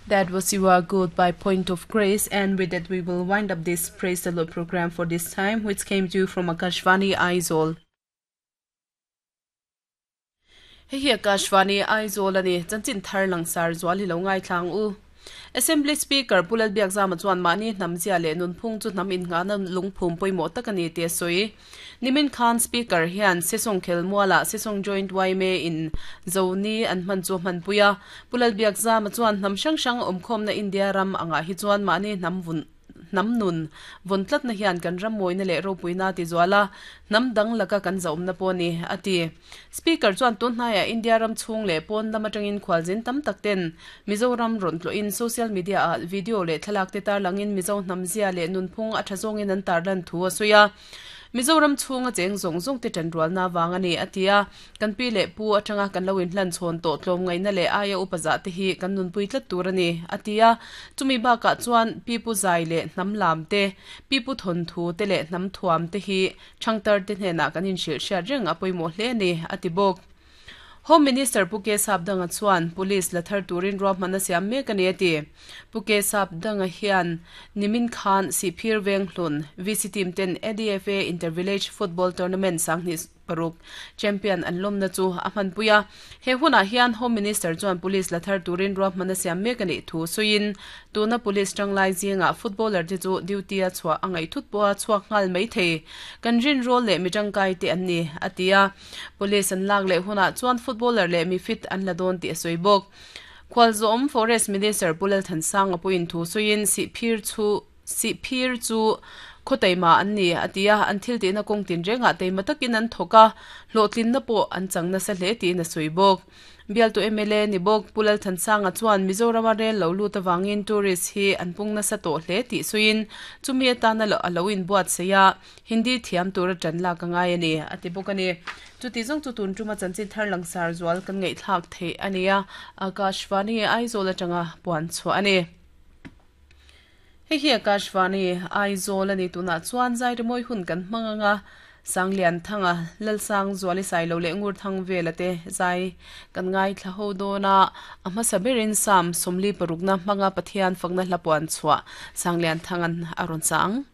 That was You Are Good by Point of Grace, and with that we will wind up this Praise the Lord program for this time, which came to you from Akashvani Aizawl. Hei hi Akashvani Aizawl a ni, chanchin thar langsar zual hi lo ngaithlang u. Assembly Speaker Pu Lalbiakzama chuan mahni hnam zia leh nunphung chu hnam innghahna lungphum pawimawh tak a ni tih a sawi. Nimin khan Speaker hian Sesawng khelmualah Sesawng Joint yma in Zoni an hman chu a hmanpui a. Pu Lalbiakzama chuan hnam hrang hrang awmkhawmna India ram angah hi chuan mahni hnam vun hnam nun vawn tlatna hian kan ram mawina leh ropuina a ti zual a, hnam dang laka kan zahawmna pawh a ni, a ti. Speaker chuan tun hnaiah India ram chhung leh pawn lam atangin khualzin tam tak ten Mizoram rawn tlawhin social media ah video leh thlalak te tarlangin Mizo hnam zia leh nunphung a tha zawngin an tarlan thu a sawi a. Mizoram chhunga cheng zawng zawng te tanrualna vang a ni, a ti a. Kan pi leh pu atanga kan lo inhlan chhawn tawh tlawmngaihna leh aia upa zah te hi kan nunpui tlat tur a ni, a ti a. Chumi bakah chuan pi pu zai leh hnam lam te, pi pu thawnthu te leh hnam thuam te hi thangtar te hnenah kan inhrilh hriat reng a pawimawh hle a ni, a ti bawk. Home Minister Pu K Sapdanga chuan Police la thar turin ruahman a siam mek a ni a ti. Pu K Sapdanga hian nimin khan Sihphir Venghlun VC team ten ADFA Inter-Village Football Tournament sanghnih paruk champion an lawmna chu a hmanpui a. He hunah hian Home Minister chuan Police la thar turin ruahman a siam mek a nih thu sawiin tuna Police tanglai zingah footballer te chu duty a chhuah a ngaih thut pawha chhuak nghal mai thei kan rinrawl leh mi tangkai te an ni, a ti a. Police an lak leh hunah chuan footballer leh mi fit an la dawn tih a sawi bawk. Khualzawm Forest Minister Pu Lalthansanga pawhin thu sawiin Sihphir chu Sihphir chu khaw taima an ni a ti a, an thil tihna kawng tinrengah taima takin an thawk a, hlawhtlinna pawh an chang nasa hle tiin a sawi bawk. Bialtu mla ni bawk Pu Lalthansanga chuan Mizorama rel lo lut avangin tourist hi an pung nasa tawh hle tih sawiin chumi atana a lo inbuatsaih a, Hindi thiam tura tan lak a ngai a ni, a ti bawk a ni. Chuti zawng chu tun tuma chanchin thar langsar zual kan ngaihthlak theih a ni a, Akashvani Aizawl atanga puan chhuah a ni. Hei hi Akashvani Aizawl a ni tunah chuan zai rimawi hun kan hmang ang a, Sanglian Thanga, Lalsang Zuali Sailo leh Ngur Thang Vela te zai kan ngaithla ho dawn a, a hmasa berin Psalm 46 hmanga Pathian fakna hla puan chhuah Sanglian Thanga'n a rawn sa ang.